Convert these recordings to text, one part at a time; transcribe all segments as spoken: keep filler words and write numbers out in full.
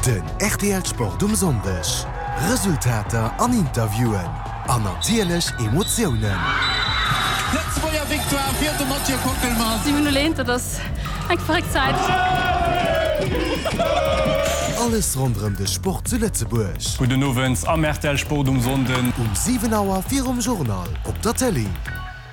Den rtl Sport um Sonndeg. Resultater an Interviewen. An natierlech Emotiounen. Lëtzebuerger Victoire fir de Mathieu Kockelmann. siwen null eent, dat ass eng verréckt Zäit. Alles ronderëm de Sport zu Lëtzebuerg. Gudden Owend am rtl Sport um Sonnden. Um siwen Auer virum Journal op der Tëlee.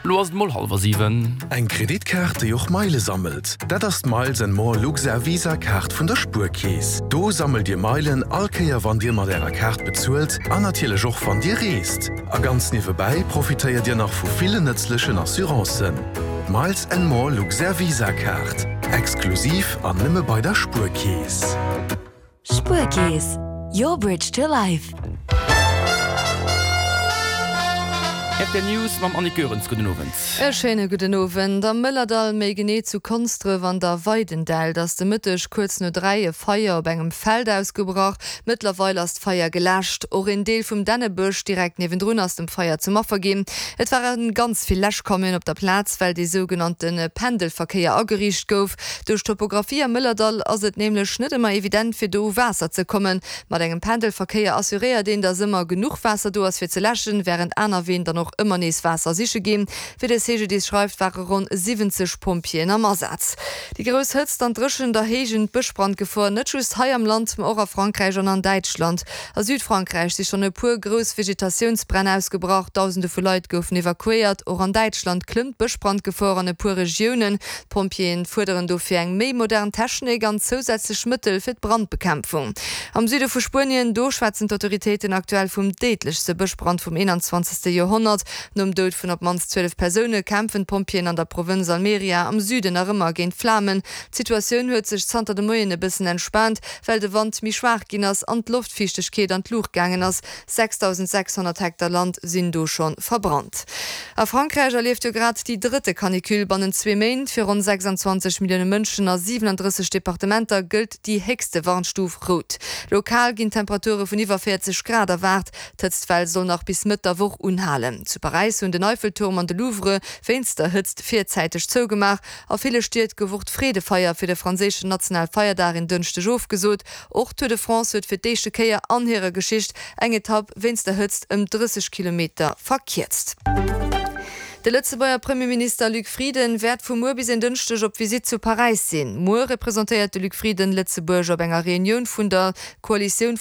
Lo ass et mol hallwer siwen. Eng Kreditkaart, déi och Meile sammelt? Dat ass d'Miles and More Luxair Visa Kaart vun der Spuerkeess. Do sammelt Dir Meilen all Kéier wann Dir mat Ärer Kaart bezuelt an natierlech och wann Dir reest. A ganz niewebäi profitéiert Dir nach vu villen nëtzlechen Assurancen. D'Miles and More Luxair Visa Kaart. Exklusiv an nëmme bei der Spuerkeess. Spuerkeess, your bridge to life. Rtl News mam Annick Goerens. Gudden Owend. E schéine gudden Owend. Am Mëllerdall, méi genee zu Konsdref an der Weidendält, ass de Mëtteg kuerz no dräi e Feier op engem Feld ausgebrach. Mëttlerweil ass d'Feier geläscht. Och een Deel vum Dännebësch direkt niewendrun ass dem Feier zum Affer ginn. Et ware ganz vill Läschcamionen op der Plaz, well dee sougenannte Pendelverkéier ageriicht gouf. Duerch d'Topographie am Mëllerdall ass et nämlech net ëmmer evident, fir do u Waasser ze kommen. Mat engem Pendelverkéier assuréiert een, dass ëmmer genuch Waasser do ass fir ze läschen, wärend aner Ween dann och ëmmer nees Waasser siche ginn. Wéi de C G D I S schreift, ware ronn siwwenzeg Pompjeeën am Asaz. Déi grouss Hëtzt an d'Dréchent erhéijen d'Bëschbrandgefor, net just hei am Land, ma och a Frankräich an an Däitschland. A Südfrankräich si schonn e puer grouss Vegetatiounsbränn ausgebrach, Dausende vu Leit goufen evakuéiert. Och an Däitschland klëmmt d'Bëschbrandgefor an e puer Regiounen. D'Pompjeeën fuerderen dofir eng méi modern Technik an zousätzlech Mëttel fir d'Brandbekämpfung. Am Süde vu Spuenien, do schwätzen d'Autoritéiten aktuell vum déidlechste Bëschbrand vum eenanzwanzegste Joerhonnert. Nom Doud vun op d'mannst zwielef Persoune kämpfen d'Pompjeeën an der Provënz Almeria am Süden nach ëmmer géint d'Flamen. D'Situatioun huet sech zanter de Moien e bëssen entspaant, well de Wand méi schwaach ginn ass an d'Loftfiichtegkeet an d'Luucht gaangen ass. sechsdausendsechshonnert Hektar Land sinn do scho verbrannt. A Frankräich erlieft jo grad déi drëtte Canicule bannent zwee Méint. Fir ronn sechsanzwanzeg Millioune Mënschen a siwelandrësseg Departementer gëllt déi héchste Warnstuf rout. Lokal ginn Temperature vun iwwer véierzeg Grad erwaart. D'Hëtztwell soll nach bis Mëtt der Woch unhalen. Zu Paräis hunn den Eiffelturm an de Louvre wéinst der Hëtzt virzäiteg zougemaach. A ville Stied gouf och d'Freedefeier fir de franséischen Nationalfeierdag en Dënschdeg ofgesot. Och d'Tour de France huet fir d'éischte Kéier an hirer Geschicht eng Etapp wéinst der Hëtzt ëm drësseg Kilometer verkierzt. De Lëtzebuerger Premierminister Luc Frieden wäert vu muer bis en Dënschdeg op Visitt zu Paräis sinn. Muer representéiert de Luc Frieden Lëtzebuerg op enger Reunioun vun der Koalitioun